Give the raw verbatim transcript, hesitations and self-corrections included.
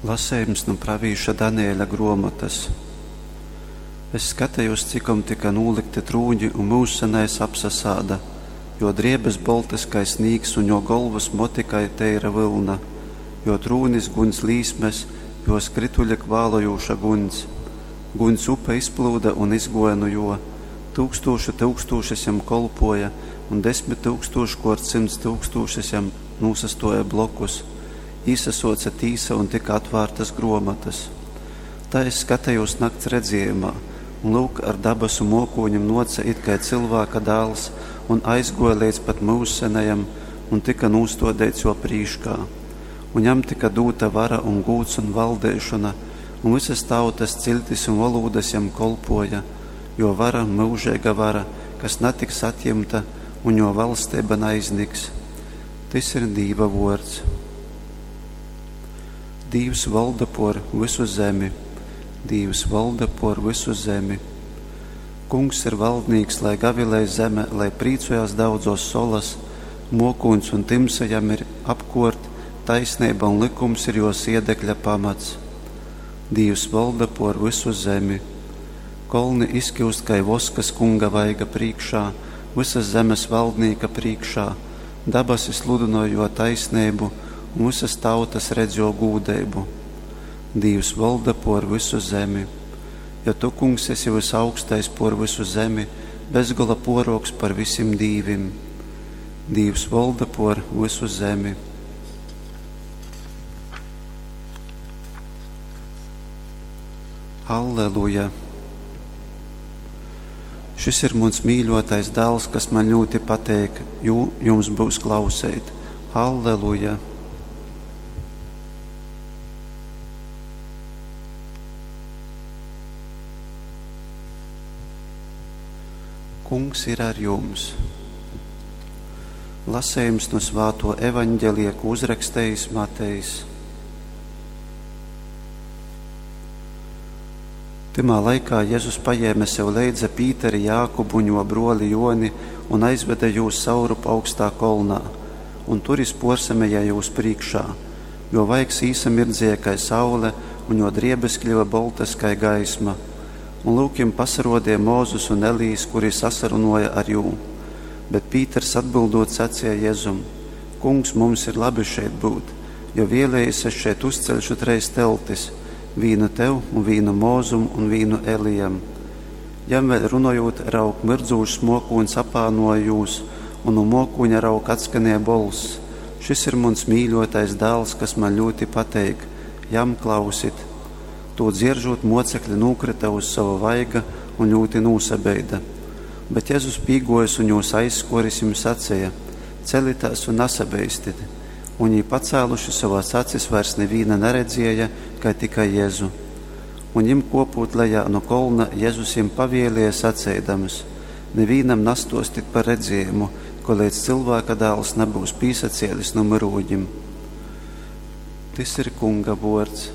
Lasejums nu pravīša Danieļa gruomotys. Es skatejūs, cikom tyka nūlykti trūņi un Myužsenais apsasāda. Jō driebes boltys kai snīgs un jō golvys moti kai teira vylna. Jō trūnis guņs līsmes, jō skrytuļi kvālojūša guņs. Guņs upe izplyuda un izgōja nu jō. Tyukstūšu tyukstūšas jam kolpōja un desmit tyukstūškōrt symts tyukstūšas jam nūsastōja blokus. Īsasōce tīsa un tyka atvārtas grōmotas. Tai es skatejūs nakts redzējumā, un, lyuk, ar dabasu mōkūņim nōce it kai Cylvāka dāls un aizgōja leidz pat Myužsenajam un tyka nūstōdeits jō prīškā. Un jam tyka dūta vara un gūds un valdeišona, un vysas tautas, ciļtis un volūdas jam kolpōja. Jō vara, myužeiga vara, kas natiks atjimta, un jō valsteiba naizniks. Tys ir Dīva vōrds. Dīvs volda pōr vysu zemi. Dīvs volda pōr vysu zemi. Kungs ir valdnīks, lai gavilej zeme, lai prīcojās daudzōs solas, mōkūņs un tymsa jam ir apkōrt, taisneiba un lykums ir jō siedekļa pamats. Dīvs volda pōr vysu zemi. Kolni izkiust kai vosks Kunga vaiga prīškā, vysas zemes valdnīka prīškā. Dabasi sludynoj jō taisneibu, un vysas tautas redz jō gūdeibu. Dīvs volda pōr vysu zemi. Jo tu, Kungs, esi vysaugstais pōr vysu zemi, bezgola pōrōks par vysim dīvim. Dīvs volda pōr vysu zemi. Alleluja! Šis ir muns mīļōtais dāls, kas maņ ļūti pateik, jū jums byus klauseit. Alleluja! Kungs ir ar jums! Lasejums nu svātō Evaņgelija, kū uzrakstejis Matejs. Tymā laikā Jezus pajēme sev leidza Pīteri, Jākubu un jō brōli Jōni un aizvede jūs saurup augstā kolnā. Un tur jys pōrsameja jūs prīškā. Jō vaigs īsamirdzēja kai saule, un jō driebes kļyva boltas kai gaisma. Un lyuk, jim pasarōdeja Mozus un Elijs, kuri sasarunōja ar jū. Bet Pīters atbyldūt saceja Jezum: Kungs, mums ir labi šeit byut. Jo vēlējies, es šeit uzceļšu treis teltis, vīnu tev, un vīnu Mozum, un vīnu Elijam. Jam vēļ runojūt, raug, myrdzūšs mōkūņs apānōja jūs, un nu mōkūņa, raug, atskanēja bolss: Šys ir muns mīļōtais dāls, kas maņ ļūti pateik, jam klausit! Tū dzieržūt, mocekli nūkryta uz sova vaiga un ļūti nūsabeida. Bet Jezus pīgōjis un jūs aizskōris jim saceja: Celitēs un nasabeistit! Un jī pacāluši sovas acis vairs nivīna naredzēja, kai tikai Jezu. Un jim kōpūt lejā nu kolna, Jezus jim pavēlēja saceidams: Nivīnam nastōstit par redzējumu, koleidz Cylvāka Dāls nabyus pīsacēlis nu myrūņim. Tys ir Kunga vōrds.